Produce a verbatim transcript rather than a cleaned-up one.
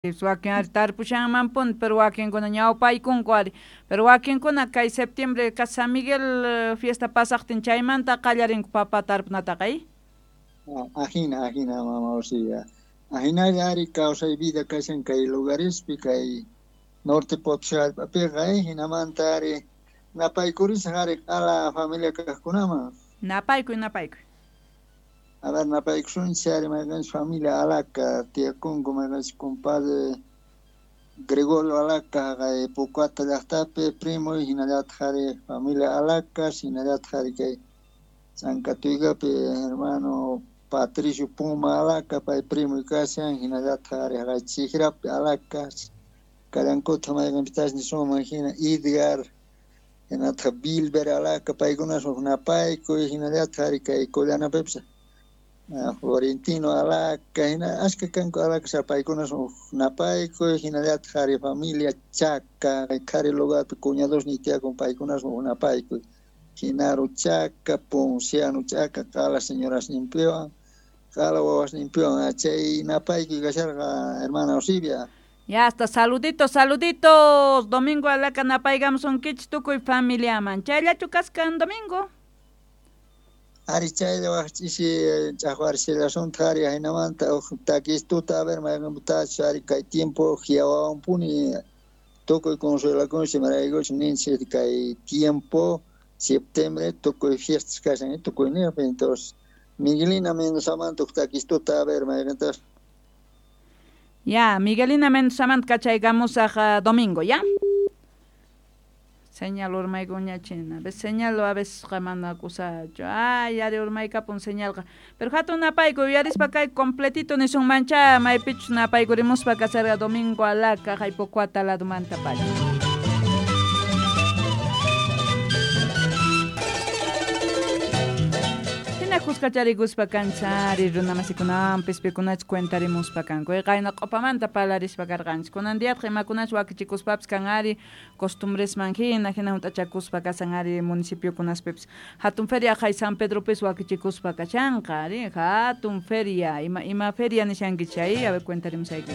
Wakin ari tarpushanmanpuni, pero wakinkuna ñawpaykunku ari, pero wakinkuna kay septiembre ka San Miguel fiesta pasaqtin chaymanta qallarinku papa tarpunataqa, ¿eh? Ajina, ajina, mama Osivia. Ajinalla ari kawsay vida kashan kay lugarespi, kay norte Potosí hallp'apiqa, eh, hinamanta ari napaykurisaq ari q'ala familia kaqkunaman. Napaykuy, napaykuy. A ver, napaykusunchis ari mayqanchis familia Alaca tiyakunku, mayqanchis compadre Gregorio Alaca haqay Pucuata llaqtapi primoy, hinallataq ari familia Alaca, hinallataq ari kay Chancatuygapi hermano Patricio Puma Alaca, pay primoy kashan, hinallataq ari haqay Chijrapi Alaca, kallankutaq mayqanpitachus nisunman hina Edgar, hinataq Bilber Alaca, paykunas huk napaykuy, hinallataq ari kay Collanapipas Florentino Alaca, hina ashka kanku Alaca, paykunas huk napaykuy, hinallataq ari familia Chaca, qhari lugarpi cuñadosniy tiyakun, paykunas huk napaykuy, Genaro Chaca, Ponciano Chaca, qala señorasninpiwan, qala wawasninpiwan, chay napaykuy kasharqa hermana Osivia. Ya hasta saluditos, saluditos. Domingo Alaca napaykamusunkichis tukuy familiaman. Chayllachu kaskan domingo? Ari chaylla waj ch'isi ch'aqwarisillasuntaj ari ajinamanta uj takistuta a ver mayqanpitachus ari kay tiempo hiawawanpuni tukuy consuelakunchis imaraykuchus ninchis kay tiempo septiembre tukuy fiestas kashan tukuy niqpi, entonces Miguelina Mendozamanta uj takistuta a ver mayqantash. Ya, Miguelina Mendozamanta kachaykamusaq uh, domingo, ¿ya? Señal urmaykuñachina, a veces señal a veces mana kusachu. Ay, ari urmaykapun señalqa. Pero hatun napaykuy uyarispa kay completito nisunmancha maypichus napaykurimuspa kasarqa domingo Alaca hay Pocuata ladumanta pacha. Kuskacharikuspa kanchari runamasikunawanpis pikunachus cuentarimuspa kanku. Qayna q'upamanta parlarispa karqanchis. Kunan diyataq imakunachus wakichikuspapis kan ari costumbresman hina, hina hunt'achakuspa kasan ari municipiokunaspipis. Hatun feria hay San Pedropis wakichikuspa kashanqa ari hatun feria. Ima, ima feria nishankichis chay? A ver, cuentarimusayki.